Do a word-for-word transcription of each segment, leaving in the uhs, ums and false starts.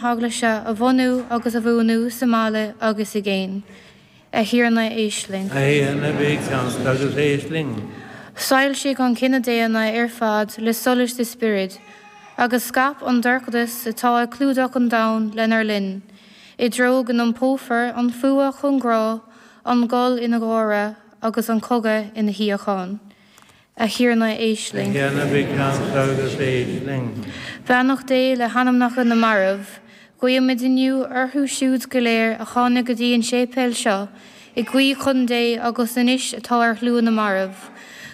hEaglaise a bhunú agus a bhuanú sa mbaile agus i gcéin. A Thiarna éist linn. A Thiarna bí ceansa agus éist linn. Soilsigh an cine daonna ar fad le solas do Spioraid, agus scaip an dorchadas atá ag clúdach an domhain lenár linn, i dtreo go n-iompófar an fuath chun grá, an gol ina gháire agus an cogadh ina shíocháin. A Thiarna éist A linn. Thiarna bí ceansa agus éist linn. Beannacht Dé le hanamnacha na marbh, Guímid inniu orthu siúd go léir a tháinig go dtí an séipéal seo, ag guí chun Dé agus anois atá ar shlua na marbh.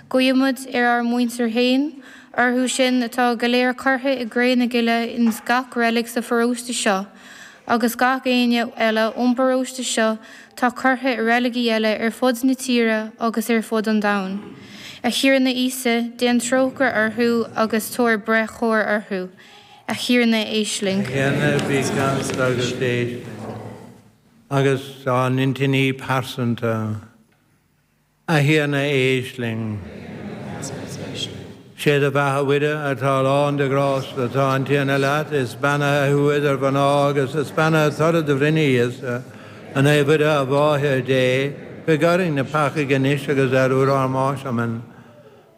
Guímid ar ár muintir féin, orthu sin atá go léir curtha i gcré na gile ins gach reilig sa pharóiste seo, agus gach éinne eile ón bparóiste seo tá curtha i reiligí eile ar fud na tíre agus ar fud an domhain. A Thiarna Íosa, déan trócaire orthu agus tabhair breith chóir orthu. A Thiarna éist linn. A Thiarna bí ceansa agus éist linn. Agus ár n-intinní pearsanta. A Thiarna éist linn. Sé do bheatha a Mhuire atá lán de ghrásta, tá an Tiarna leat, is beannaithe thú idir mhná agus is beannaithe toradh do bhroinne Íosa, a Naomh Mhuire a Mháthair Dé, guigh orainn na peacaigh anois agus ar uair ár mbáis. Amen.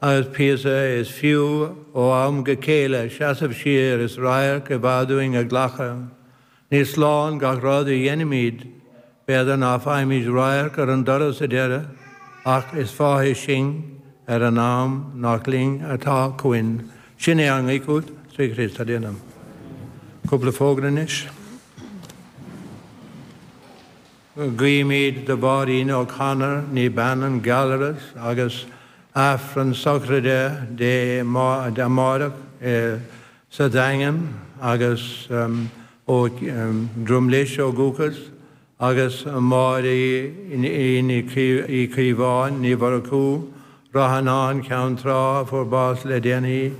Agus píosa is fiú ó am go chéile seasamh siar is radharc i bhfad uainn a ghlacadh. Ní slán gach rud a dhéanaimid, b'fhéidir ná faighimid radharc ar an dtoradh sa deireadh, ach is fáidhe sinn ar an am nach linn atá chugainn. Sin é ár nguí chugat, trí Chríost ár dTiarna. Cúpla fógra anois. Guímid do Mháirín O'Connor, née Bannon, Gallarus agus Aifreann sochraide di amárach sa Daingean agus ó Drumlish ó dhúchas agus Máire Uí Chaomháin, Ní Mhurchú, Ráth Fhionáin, Ceann Trá, fuair bás le déanaí,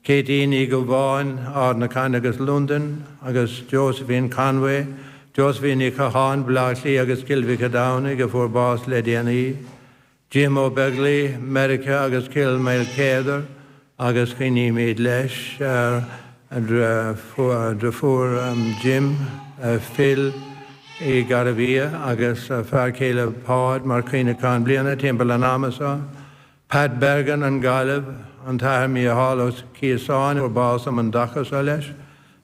Katie Ní Dhubháin, Ard na Caithne agus Londain, agus Josephine Conway, Josephine Ní Chatháin, Baile Átha Cliath agus Cill Mhic a' a fuair bás le déanaí. Jim Ó Beaglaoich, Meiriceá agus Cill Maoilchéadair agus cuimhnímid leis ar dheirfiúr Jim, Phil i Gairbhia agus fear céile Páid mar chuimhneachán bliana timpeall an ama seo. Pat Bergen an Ghaillimh, an tAthair Mícheál Ó Ciosáin fuair bás um an dtaca seo leis,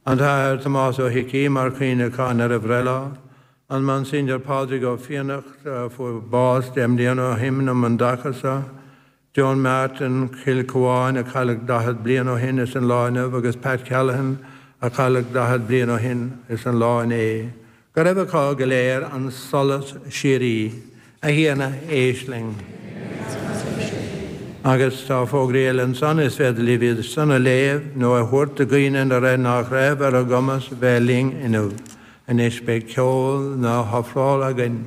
an tAthair Tomás Ó hIcí mar chuimhneachán ar a bhreithlá, an Monsignor Pádraig Ó Fiannacht fuair bás deich mbliana ó shin um an dtaca seo, Joan Martin Cill Chuáin a cailleadh daichead bliain ó shin is an lá inniu agus Pat Callahan a cailleadh daichead bliain ó shin is an lá inné. Go raibh acu go léir an solas síoraí, a Thiarna éist linn. Agus tá fógraí eile ansan is féidir libh iad san a léamh nó a thabhairt do dhaoine na raibh nach raibh ar a gcumas bheith linn inniu. Anois beidh ceol na hofrála againn.